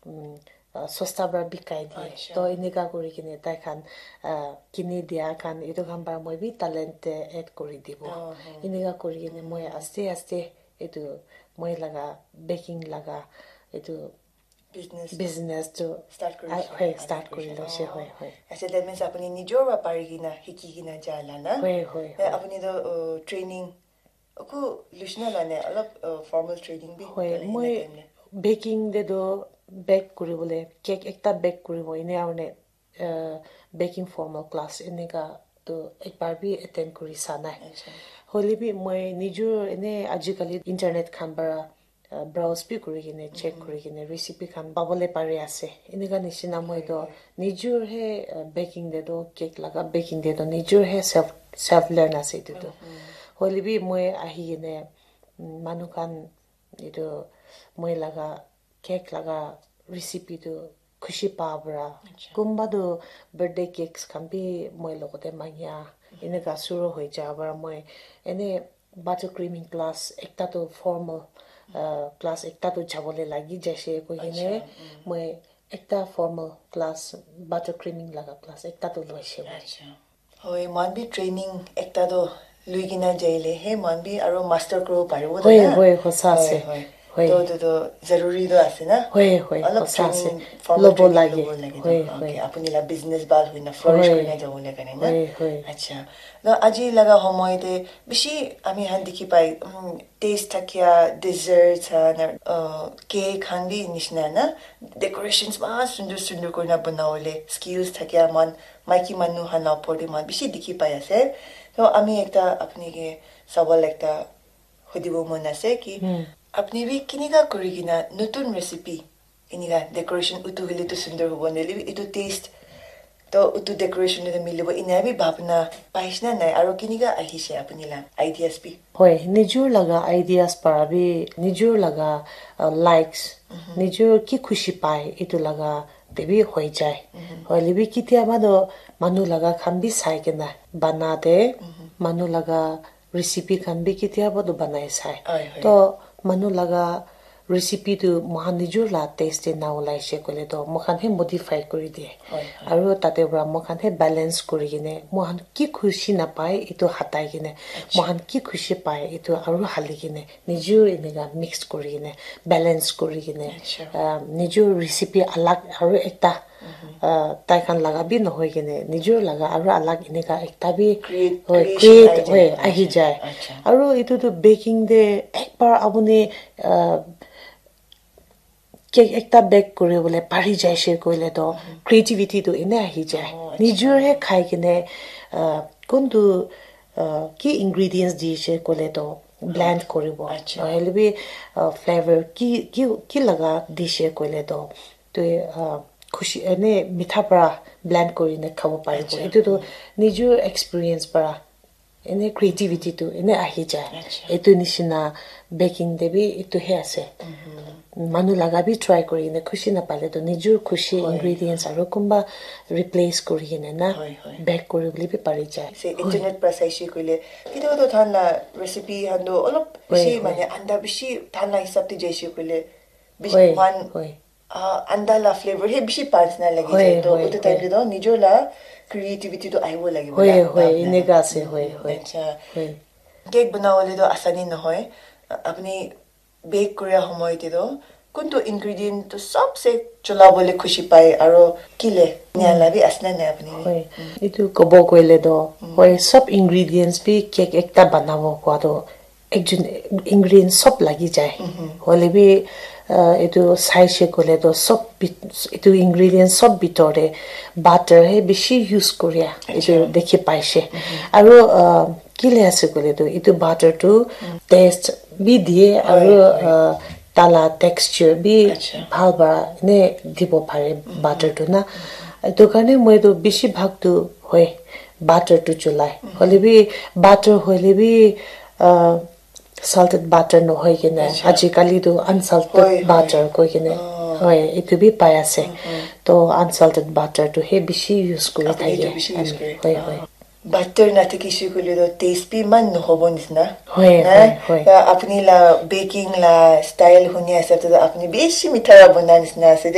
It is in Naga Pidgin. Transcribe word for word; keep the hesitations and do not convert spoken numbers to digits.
um, uh, sosta para bikai diye. Acha. To eneka kuri kene tai khan uh, kini dia khan etu khan para moi bi talent te add kuri dibo. Oh, oh. Eneka kuri kene moi aste aste etu moi laga baking laga etu business business tu start kuri ah, ase, hoi, start kuri ase. Hoi. Acha, that means apuni nijor para pari kena hiki kena jai la na? Hoi, hoi, eh, hoi. Apuni to uh, training aku lushna la ne alap uh, formal training bi hoi, kare na moi time ne? Baking de do bake kuri bole, cake ekta bake kuri bo ine aru ne uh, baking formal class eneka tu ekbar bi attend kuri sa nai. Acha. Hoile bi moi nijor ene ajikali internet khan para uh, browse bi kuri kene check kuri kene recipe khan pabole pari ase. Eneka nishina moi to nijor he uh, baking de to cake laga baking de to nijor he self self learn ase etu to. Hoile bi moi ahi kene mm, manu khan etu moi laga cake laga recipe tu khushi pa para. Acha. Kumba tu birthday cakes khan bi moi logote mangia eneka suru hoi ja para moi ene buttercreaming class ekta tu formal uh, class ekta tu jabole lagi jaise koi kene. Acha, mm. Moi ekta formal class buttercreaming laga class ekta tu loise moi. Acha. Hoi, mohan bi training ekta to lui kena jaile he mohan bi aro master kuribo paribo. Hoi, na? Hoi, hosa ase. Hoi. Hoi. To to to zaruri to ase na? Hoi, hoi, alop hosa ase. Training, formal lobo training lage. Lobo lage. Hoi, hoi. Okay, apuni la business bhal hoina flourish kurina jabo le karne na? Hoi, hoi. Acha. To aji laga homoy te bishi ami han dikhi pai um, taste thakia desserts han uh, cake han bi nishina na decorations ma sundur sundur kurina banawole skills thakia man maiki manu khan la opor te moi bishi dikhi pai ase. To ami ekta apni ke sawal ekta hudibo mon ase ki apni bi kinika kuri kena nutun recipe inika decoration utu hoile tu sundor hobo nahole bi etu taste to utu decoration te milibo ina bi bhabna paishe na nai aro kinika ahishe apni la ideas bi? Hoi, nijor laga ideas para bi nijor laga uh, likes nijor ki khushi pai etu laga te bi hoi jai. Hoile bi kitiaba to manu laga khan bi sai kena bana te manu laga recipe khan bi kitiaba to banai sai. Hoi, hoi. To manu laga recipe tu mohan nijor la taste te na ulai she koile to mohan he modify kuri diye. Hoi, hoi. Aru tate para mohan he balance kuri kene mohan ki khushi na pai etu hatai kene mohan ki khushi pai etu aru hali kene nijor eneka mix kuri kene balance kuri kene Acha. Uh, nijor recipe alag aru ekta uh, tai khan laga bi nohoi kene nijor laga aru alag eneka ekta bi Create- hoi, creation create ahi jai. Hoi, ahi jai. Acha. Aru etu tu baking te ekbar apuni uh, cake ekta bake kuri bole pari jai she koile to creativity tu ene ahi jai. Oh, acha. Nijor he khai kene uh, kun tu uh, ki ingredients di she koile to blend kuribo. Acha. Nohole bi uh, flavor ki ki ki laga di she koile to tu uh, khushi ene mitha para blend kuri ne khabo paribo. Acha. Etu tu nijor experience para ene creativity tu ene ahi jai. Acha. Etu nishina baking te bi etu he ase. Manu laga bi try kuri kene khushi na pale to nijor khushi Hoi. Ingredients aru kumba replace kuri kene na Hoi, hoi. Bake kuri bole bi pari jai. Se internet para saishe koile kitiaba to than la recipe han to olop Hoi, bishi hoi. Mane anda bishi than la hisab te jaishe koile bishi Hoi, man hoi. Ah, anda la flavor he bishi pa nisna lagi Hoi, jai to hoi, utu time hoi. Te to nijor la creativity to ahibo lagibo Hoi, na, hoi, na, na, eneka na. Ase, hoi, hoi. Acha. Hoi. Cake banawole to asani nohoi. Apni bake kuria homoy te to kuntu ingredient to sabse chola bole khushi pai aro kile nia la bi asna nai apni? Hoi. Etu kobo koile to hoi sob ingredients bi cake ekta banabo kua to ekjun ingredient sob lagi jai. Hoile bi uh, etu saishe koile to sob bit- etu ingredient sob bitor te butter he bishi use kuria etu Acha. Dikhi paishe. Aru uh, kile ase koile to etu butter tu taste bi diye Hoi, aru hoi. Uh, tala texture bi Acha. Bhal para ne dibo pare butter tu na. Etu karne moi tu bishi bhag tu hoi butter tu chulai. Hoile bi butter hoile bi uh, salted butter nohoi kene Acha. Ajikali tu unsalted Hoi, hoi. Butter koi kene Oh. Hoi etu bi pai ase to unsalted butter tu he bishi use kuri Apni thake etu bishi use ami. Kore. Hoi hoi. Butter na thaki shi koile to taste bi iman nohobo nisna Hoi Na? Hoi hoi. Ya, apni la baking la style huni ase to apni bishi mitha la bona nisna ase de.